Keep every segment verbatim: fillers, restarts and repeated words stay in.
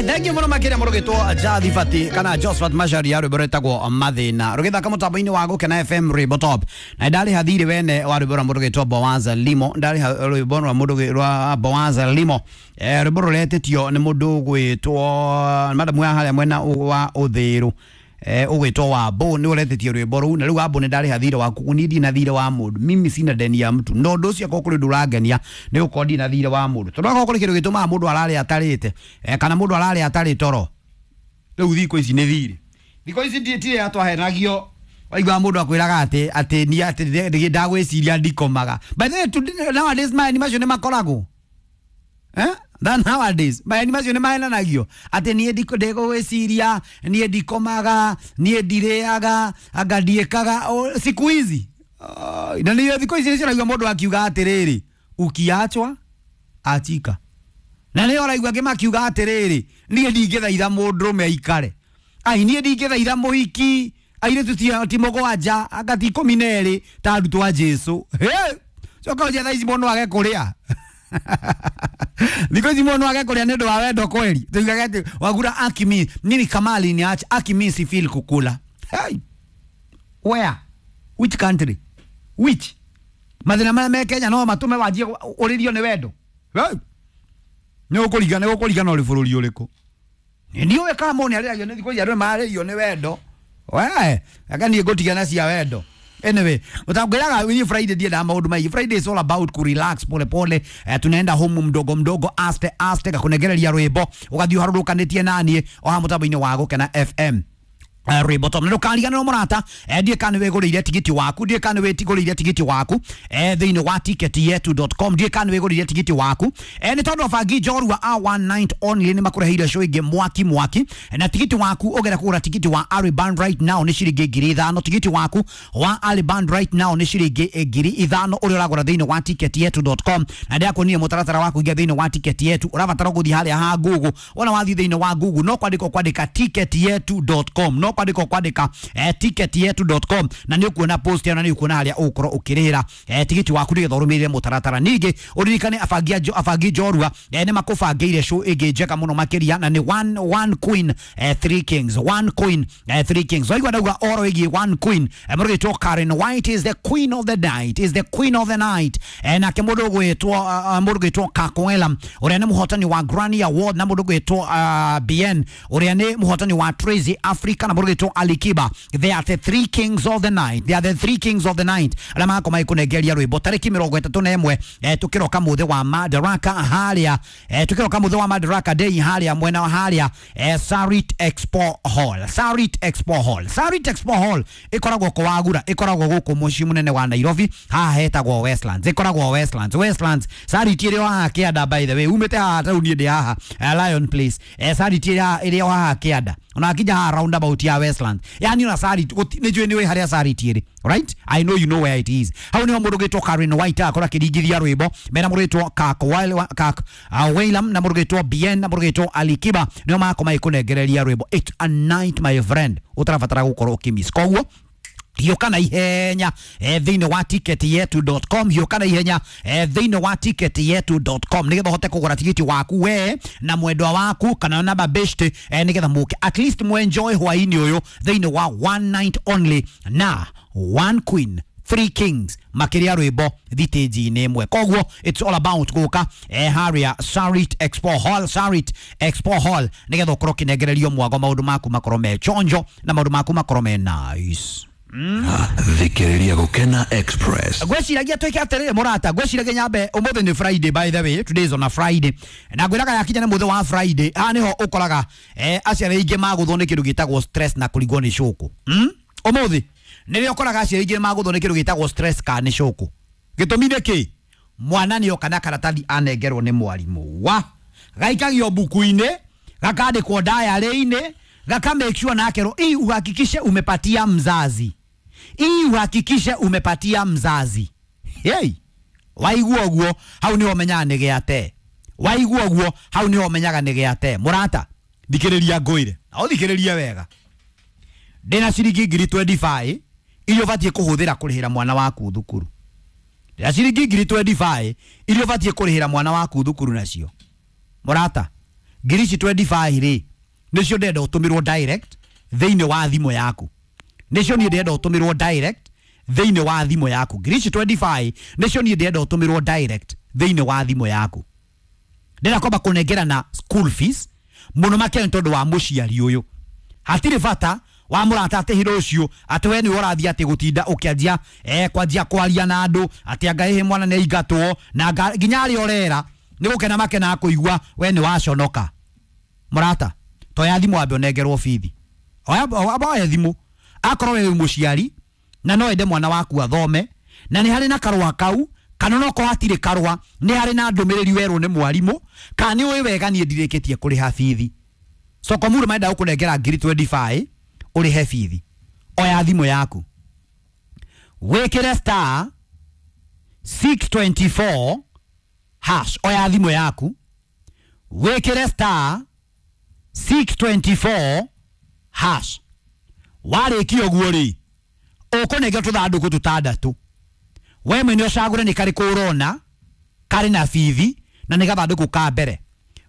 Alright, thank you muno makiria murugitwo Jathi Fati kana Josephat Macharia rwimbo rwitagwo Mathina rugithaka mutambo-ini wa Gukena F M Rwimbo Top. Na ndariha thiri wene wa rwimbo rwa murugitwo Bowaza Limo, ndariha rwimbo rwa mundu rwa Bowaza Limo, eh rwimbo ruretĩtio nĩ mundu gwitwo madamu ya haria mwena wa Uthiru, eh ugwitwo Wambo ni uretĩtio rwimbo rũu. Na rĩu Wambo nĩ ndarĩha thirĩ waku, ni ndina thirĩ wa mũndũ, mimi sina deni ya mtu. No ũndũ ũcio akorwo kũrĩ ũndũ ũrangenia nĩ gũkorwo ndina thirĩ wa mũndũ, tondũ akorwo kũrĩ kĩndũ gĩtũmaga mũndũ arare atarĩte, eh kana mũndũ arare atarĩ toro, rĩu thikũ ici nĩ thirĩ. Thikũ ici nditirĩ atwahenagio, waigua mũndũ akwĩraga atĩ atĩ ni atĩ ndagwĩciria ndikomaga. By the way, nowadays maeni macio nĩ makoragwo, eh than nowadays maeni macio nĩ mahenanagio atĩ niĩ ndiko ndĩgũgwĩciria, niĩ ndikomaga, niĩ ndirĩaga, anga ndiĩkaga siku hizi. Uh, na nĩ thikũ ici nĩcio ũraigua mũndũ akiuga atĩrĩrĩ, ukiachwa achika. Na nĩ ũraigua angĩ makiuga atĩrĩrĩ, niĩ ndingĩthaitha mũndũrũme aikare, ai niĩ ndingĩthaitha mũhiki, airĩtu ti mũgwanja anga ti ikũmi na erĩ ta arutwo a Jesũ. Coka ũnjie thaa ici mũndũ age kũrĩa. Thikũ ici mũndũ age kũrĩa nĩ ũndũ wa wendo kweli. Tuigaga atĩ wagura akimi mimi kamali ni acha akimi si feel kukula. Hey, where, which country, which mathĩna marĩa me Kenya no matũme wanjie ũrĩrio nĩ wendo? Hey, nĩ ũkũringana, nĩ ũkũringana ũrĩ bũrũri ũrĩkũ. Ndiũĩ kana mũndũ nĩarĩragio nĩ thikũ ici andũ nĩmararĩrio nĩ wendo. We aka niĩ ngũtigana cia wendo. Anyway, utangwiraga winyi Friday ndiendaga maundu maingi. Friday is all about ku relax pole pole. Eh, tunaenda home mdogo mdogo, aste aste, gakunegereria rwimbo ugathii uharũrũkanĩtie naniĩ o haha mũtambo-inĩ wa Gukena F M. Uh, Rwimbo Top. Na ndũkariganĩrwo mũrata, eh, ndiĩ kana nĩwĩgũrĩire tigiti waku, ndiĩ kana nĩwĩgũrĩire tigiti waku, eh, thĩinĩ wa ticket yetu dot com, ndiĩ kana nĩwĩgũrĩire tigiti waku, eh, nĩ tondũ abangi njorua a one night only nĩ makũreheire show ĩngĩ mwaki mwaki. Na tigiti waku ũgera kũgũra tigiti wa Ari Band right now nĩ ciringi ngiri ithano. Tigiti waku wa Ari Band right now nĩ ciringi ngiri ithano ũrĩa ũragũra thĩinĩ wa ticket yetu dot com. Na ndĩrakuonia mũtaratara wa kũingĩra thĩinĩ wa ticket yetu, ũrabatara gũthiĩ harĩa ha Google. Wona wathiĩ thĩinĩ wa Google no kwandĩka kwandĩka ticket yetu dot com, no kwandĩka kwandĩka eh, ticket yetu dot com, na nĩ ũkuona post ĩyo na nĩ ũkuona harĩa ũgũkorwo ũkĩrĩhĩra eh, tigiti waku nĩgetha ũrũmĩrĩre mũtaratara. Ningĩ ũririkane abangi abangi njorua eh, nĩ makũbangĩire show ĩngĩ njega mũno makĩria, na nĩ one, one queen eh, three kings, one queen eh, three kings. Waigua ndauga oro ĩgiĩ one queen, eh, mũrũgĩtwo Karen White is the queen of the night, is the queen of the night, eh, nake mũndũ ũgwĩtwo uh, mũndũ ũgwĩtwo Kakoela ũrĩa nĩ mũhotani wa Grammy Award, na mũndũ ũgwĩtwo uh, B N ũrĩa nĩ mũhotani wa Tracy Africa, na mũrũgĩtwo Alikiba. They are the three kings of the night, they are the three kings of the night arĩa magakorwo magĩkũnengeria rwĩmbo tarĩki mĩrongo ĩtatũ na ĩmwe, eh, tũkĩroka mũthĩ wa Madaraka harĩa, eh, tũkĩroka mũthĩ wa Madaraka Day harĩa mwena wa harĩa, eh, Sarit Expo Hall, Sarit Expo Hall, Sarit Expo Hall ĩkoragwo Kawagura, ĩkoragwo gũkũ mũciĩ mũnene wa Nairobi, haha hetagwo Westlands, ĩkoragwo Westlands, Westlands. Sarit ĩrĩ o haha kĩanda, by the way umĩte haha taũni ndĩ haha, eh, Lion Place, eh, Sarit ĩrĩ o haha kĩanda, ona akinya haha roundabout ya Westlands, yani ona Sarit nĩ njũĩ nĩ wĩ harĩa Sarit ĩrĩ, right? I know you know where it is. Hau nĩho mũndũ ũgĩtwo Karen White akorwo akĩringithia rwĩmbo mena mũndũ ũgĩtwo Kak Wailam na mũndũ ũgĩtwo B N na mũndũ ũgĩtwo Alikiba, nĩo magakorwo magĩkũnengereria rwĩmbo. It's a night my friend ũtarabatara gũkorwo ũkĩmiss. Koguo hiũka na ihenya eh, thĩinĩ wa ticket yetu dot com, hiũka na ihenya eh, thĩinĩ wa ticket yetu dot com nĩgetha ũhote kũgũra tigiti waku we na mwendwa waku kana na babeshte, eh, nĩgetha mũke at least mwenjoy hwainĩ ũyũ thĩinĩ wa one night only na one queen three kings makĩria rwĩmbo thitĩnji-inĩ ĩmwe. Koguo it's all about gũka eh, harĩa Sarit Expo Hall, Sarit Expo Hall nĩgetha ũkorwo ũkĩnengererio mwago, maũndũ maku makorwo me chonjo na maũndũ maku makorwo me nice. Mm. Thikĩrĩria Gukena Express. Ngwĩciragia twĩke atĩrĩrĩ mũrata, ngwĩciragia nyambe ũmũthĩ nĩ Friday, by the way today is on a Friday, na ngwĩraga yakinya nĩ mũthĩ wa Friday haha nĩho ũkoraga eh, aciari aingĩ magũthwo nĩ kĩndũ gĩtagwo stress na kũringwo nĩ cũkũ. Mm? Ũmũthĩ nĩrĩo ũkoraga aciari aingĩ magũthwo nĩ kĩndũ gĩtagwo stress kana nĩ cũkũ. Gĩtũmi nĩ kĩ? Mwana nĩoka na karatathi anengerwo nĩ mwarimũ wa gaikagio buku-inĩ, gakandĩkwo diary-inĩ, gaka make sure na akerwo hii uhakikishe umepatia mzazi, hii uhakikishe umepatia mzazi. Hey, waigua ũguo hau nĩho ũmenyaga nĩ gĩate, waigua ũguo hau nĩho ũmenyaga nĩ gĩate. Mũrata thikĩrĩria ngwĩre na ũthikĩrĩrie wega, ndĩna ciringi ngiri twenty five iria ũbatiĩ kũhũthĩra kũrĩhĩra mwana waku thukuru, ndĩna ciringi ngiri twenty five iria ũbatiĩ kũrĩhĩra mwana waku thukuru nacio. Mũrata Ngiri ici twenty-five rĩ nĩcio ndĩrenda ũtũmĩrwo direct thĩinĩ wa thimũ yaku. Nĩcio niĩ ndĩrenda ũtũmĩrwo direct thĩinĩ wa thimũ yaku. Ngiri ici twenty-five nĩcio niĩ ndĩrenda ũtũmĩrwo direct thĩinĩ wa thimũ yaku. Ndĩrenda kwamba kũnengerana school fees mũno makĩria nĩ tondũ wa mũciari ũyũ. Hatirĩ bata wa mũrata atĩ hĩndĩ ũcio atĩ we nĩwe ũrathiĩ atĩ gũtinda ũkĩanjia eh, kwanjia kwaria na andũ atĩ anga ĩhĩ mwana nĩ aingatwo na anga nginya arĩa ũrera nĩ gũkena makenaga kũigua we nĩ waconoka. Mũrata toya thimũ wambe ũnengerwo bithi. Oya oya thimũ akorwo we wĩ mũciari na no ende mwana waku athome na nĩ harĩ na karũa kau kana no korwo hatirĩ karũa nĩ harĩ na ndũmĩrĩri werwo nĩ mwarimũ kana nĩ ũĩ wega niĩ ndirĩkĩtie kũrĩha bithi. Sokomuru marenda gũkũnengera ngiri twenty-five ũrĩhe bithi. Oya thimũ yaku wĩkĩre star six twenty-four hash. Oya thimũ yaku wĩkĩre star six twenty-four hash. Warĩkia ũguo rĩ ũkũnengera tũthandũkũ tũtandatũ. We mwene ũcagũre nĩ karĩkũ ũrona karĩ na bithi na nĩ gathandũkũ ka mbere.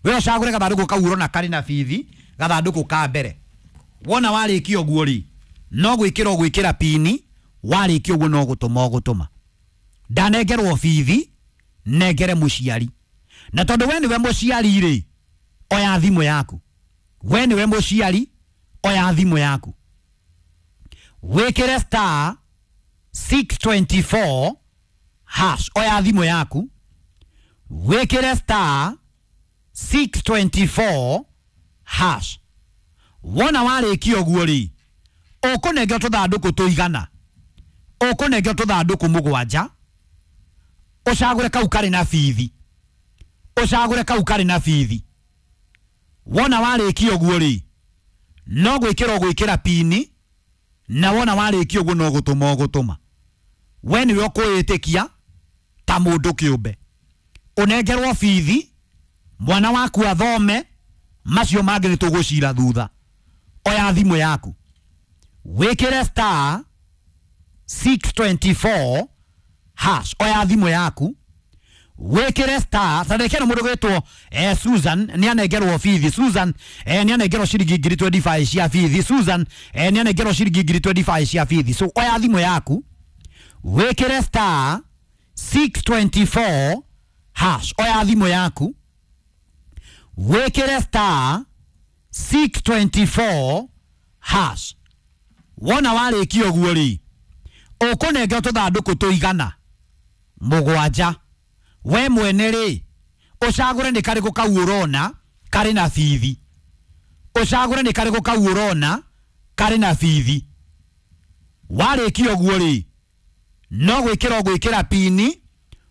We ũcagũre gathandũkũ kau ũrona karĩ na bithi, gathandũkũ ka mbere. Wona warĩkia ũguo rĩ no gwĩkĩra ũgwĩkĩra pini, warĩkia ũguo no gũtũma ũgũtũma. Ndanengerwo bithi nengere mũciari. Na tondũ we nĩwe mũciari rĩ oya thimũ yaku. We nĩwe mũciari oya thimũ yaku wĩkĩre star six twenty-four hash. Oya thimũ yaku wĩkĩre star six twenty-four hash. Wona warĩkia ũguo rĩ ũkũnengera tũthandũkũ tũigana, ũkũnengera tũthandũkũ mũgwanja, ũcagũre kau karĩ na bithi, ũcagũre kau karĩ na bithi. Wona warĩkia ũguo rĩ no gwĩkĩra ũgwĩkĩra pini na wona warĩkia ũguo no gũtũma ũgũtũma. We nĩwe ũkwĩĩtĩkia ta mũndũ kĩũmbe ũnengerwo bithi mwana waku athome, macio mangĩ nĩ tũgũcira thutha. Oya thimũ yaku wĩkĩre star six twenty-four hash. Oya thimũ yaku wĩkĩre star tareke no mũndũ gwĩtwo eh, Susan nĩ anengerwo bithi. Susan eh, nĩ anengerwo ciringi ngiri twenty-five cia bithi. Susan eh, nĩ anengerwo ciringi ngiri twenty-five cia bithi. So oya thimũ yaku wĩkĩre star six twenty-four hash. Oya thimũ yaku wĩkĩre star six twenty-four hash. Wona warĩkia ũguo rĩ ũkũnengera tũthandũkũ tũigana mũgwanja. We mwene rĩ ũcagũre nĩ karĩkũ kau ũrona karĩ na bithi, ũcagũre nĩ karĩkũ kau ũrona karĩ na bithi. Warĩkia ũguo rĩ no gwĩkĩra ũgwĩkĩra pini,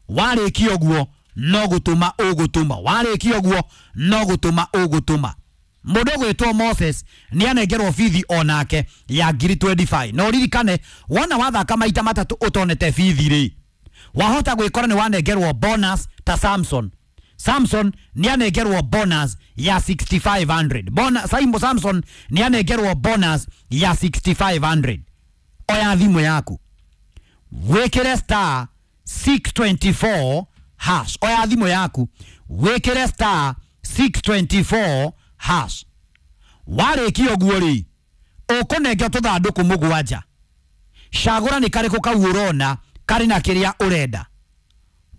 warĩkia ũguo no gũtũma ũgũtũma, warĩkia ũguo no gũtũma ũgũtũma. Mũndũ ũgwĩtwo Moses nĩ anengerwo bithi onake ya ngiri twenty-five. Na ũririkane wona wathaka maita matatũ ũtonete bithi rĩ wahota gwĩkora nĩ wanengerwo bonus ta Samson. Samson nĩ anengerwo bonus ya sixty-five hundred. Bona, Samson nĩ anengerwo bonus ya sixty-five hundred. Oya thimũ yaku wĩkĩre star six twenty-four hash. Oya thimũ yaku wĩkĩre star six twenty-four hash. Warĩkia ũguo rĩ ũkũnengera tũthandũkũ mũgwanja. Cagũra nĩ karĩkũ kau ũrona karĩ na kĩrĩa ũrenda.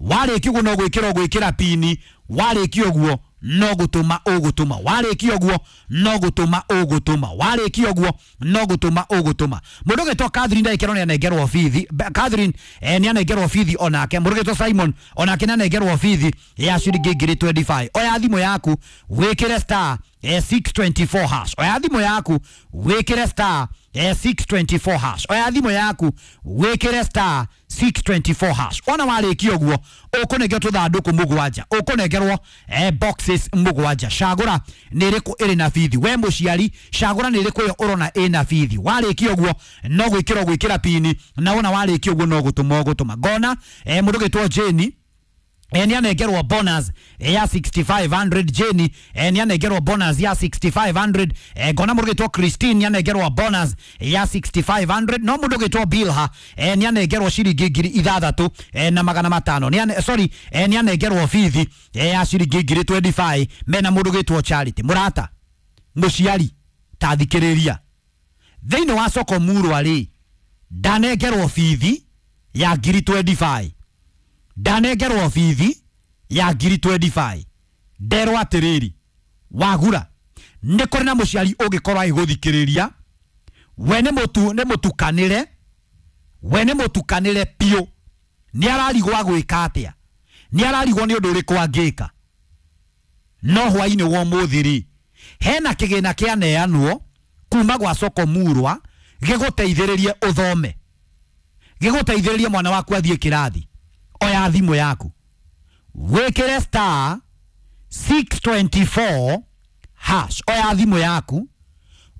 Warĩkia ũguo no gwĩkĩra ũgwĩkĩra pini, warĩkia ũguo no gũtũma ũgũtũma, warĩkia ũguo no gũtũma ũgũtũma, warĩkia ũguo no gũtũma ũgũtũma. Mũndũ ũgwĩtwo Catherine ndagĩkerwo nĩ anengerwo bithi. Catherine eh, nĩ anengerwo bithi onake. Mũndũ ũgwĩtwo Simon onake nĩ anengerwo bithi ya ciringi ngiri twenty-five. Oya thimũ yaku wĩkĩre star eh, six twenty-four hash. Oya thimũ yaku wĩkĩre star eh, six twenty-four hash. Oya thimũ yaku wĩkĩre star six twenty-four hash. Wona warĩkia ũguo ũkũnengerwo tũthandũkũ mũgwanja, ũkũnengerwo eh, boxes mũgwanja. Cagũra nĩ ĩrĩkũ ĩrĩ na bithi. We mũciari cagũra nĩ ĩrĩkũ ĩyo ũrona ĩna bithi. Warĩkia ũguo no gwĩkĩra ũgwĩkĩra pini na wona warĩkia ũguo no gũtũma ũgũtũma. Ngona eh, mũndũ ũgwĩtwo Jane E, nĩ anengerwo bonus ya six thousand five hundred. Jane e, nĩ anengerwo bonus ya six thousand five hundred. e, ngona mũndũ gĩtwo Christine nĩ anengerwo bonus ya six thousand five hundred. No mũndũ gĩtwo Bilha e, nĩ anengerwo ciringi ngiri ithathatũ e, na magana matano. Nĩ ane, sorry, e, nĩ anengerwo bithi e, ya ciringi ngiri mĩrongo ĩrĩ na ithano mena mũndũ gĩtwo Charity. Mũrata, mũciari, ta thikĩrĩria, thĩinĩ wa soko murwa rĩ, ndanengerwo bithi ya ngiri mĩrongo ĩrĩ na ithano, ndanengerwo bithi ya ngiri mĩrongo ĩrĩ na ithano. Nderwo atĩrĩrĩ, wagura nĩ kũrĩ na mũciari ũngĩkorwo agĩgũthikĩrĩria, we nĩ mũtu nĩ mũtukanĩre, we nĩ mũtukanĩre biũ, nĩ ararigwo agwĩka atĩa, nĩ ararigwo nĩ ũndũ ũrĩkũ angĩka. No hwainĩ wa ũmũthĩ rĩ, hena kĩgĩna kĩaneanwo kuma gwa soko murwa gĩgũteithĩrĩrie ũthome, gĩgũteithĩrĩrie mwana waku athiĩ kĩrathi. Oya thimũ yaku, wĩkĩre star six two four hash. Oya thimũ yaku,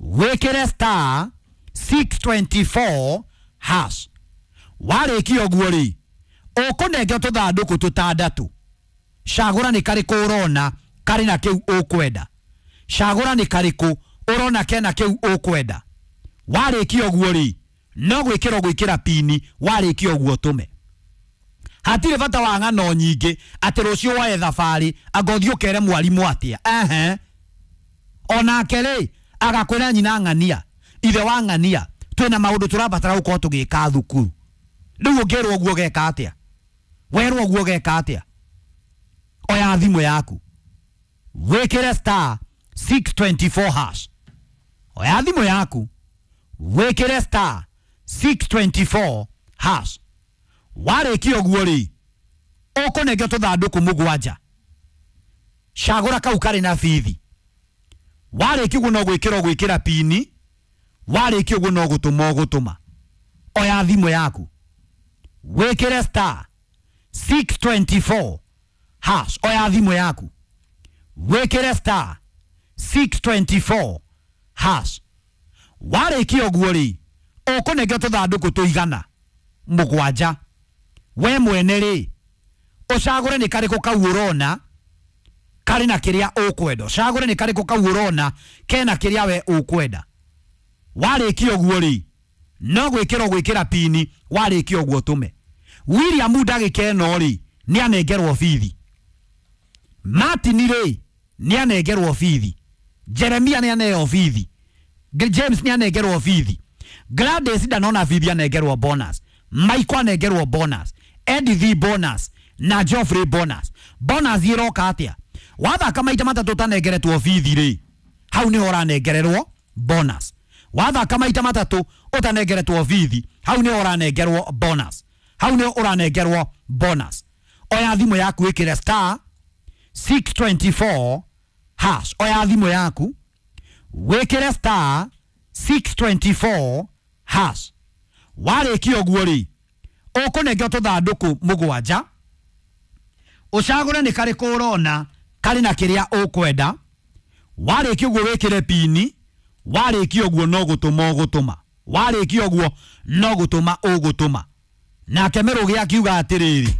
wĩkĩre star six two four hash. Warĩkia ũguo rĩ, ũkũnengwo tũthandũkũ tũtandatũ. Cagũra nĩ karĩkũ ũrona karĩ na kĩu ũkwenda. Cagũra nĩ karĩkũ ũrona kena kĩu ũkwenda. Warĩkia ũguo rĩ, no gwĩkĩra gwĩkĩra pini. Warĩkia ũguo, tũme. Hatirĩ bata wa ng'ano nyingĩ atĩ rũciũ woe thabarĩ anga ũthiĩ ũkere mwarimũ atĩa. Ehe, onake rĩ, agakwĩra nyina ng'ania, ithe wa ng'ania, twĩna maũndũ tũrabatara gũkorwo tũgĩka thukuru. Rĩu ũngĩrwo ũguo ũgeka atĩa? Werwo ũguo ũgeka atĩa? Oya thimũ yaku, wĩkĩre star six two four hash. Oya thimũ yaku, wĩkĩre star six two four hash. Warĩkia ũguo rĩ, ũkũnengwo tũthandũkũ mũgwanja. Cagũra kau karĩ na bithi. Warĩkia ũguo, no gwĩkĩra ũgwĩkĩra pini. Warĩkia ũguo, no gũtũma ũgũtũma. Oya thimũ yaku, wĩkĩre star six two four hash. Oya thimũ yaku, wĩkĩre star six two four hash. Warĩkia ũguo rĩ, ũkũnengwo tũthandũkũ tũigana mũgwanja. We mwene rĩ, ũcagũre nĩ karĩkũ kau ũrona karĩ na kĩrĩa ũkwenda. Ũcagũre nĩ karĩkũ kau ũrona kena kĩrĩa we ũkwenda. Warĩkia ũguo rĩ, no gwĩkĩra ũgwĩkĩra pini. Warĩkia ũguo, tũme. William ndagĩka ĩno rĩ, nĩ anengerwo bithi. Martin rĩ, nĩ anengerwo bithi. Jeremia nĩ aneo bithi. James nĩ anengerwo bithi. Gladys ndanona bithi, anengerwo bonus. Michael anengerwo bonus, Edith bonus na Geoffrey bonus. Bonus iroka atia? Wathaka maita matatu ũtanengeretwo bithi rĩ, hau nĩho ũranengererwo bonus. Wathaka maita matatu ũtanengeretwo bithi, hau nĩho ũranengerwo bonus, hau nĩho ũranengerwo bonus. Oya thimũ yaku, ĩkĩre star six two four hash. Oya thimũ yaku, wĩkĩre star six two four hash. Warĩkia ũguo rĩ, ũkũnengwo tũthandũkũ mũgwanja. Ũcagũre nĩ karĩkũ ũrona karĩ na kĩrĩa ũkwenda. Warĩkia ũguo, wĩkĩre pini. Warĩkia ũguo, no gũtũma ũgũtũma. Warĩkia ũguo, no gũtũma ũgũtũma. Nake Mĩrũgĩ akiuga atĩrĩrĩ.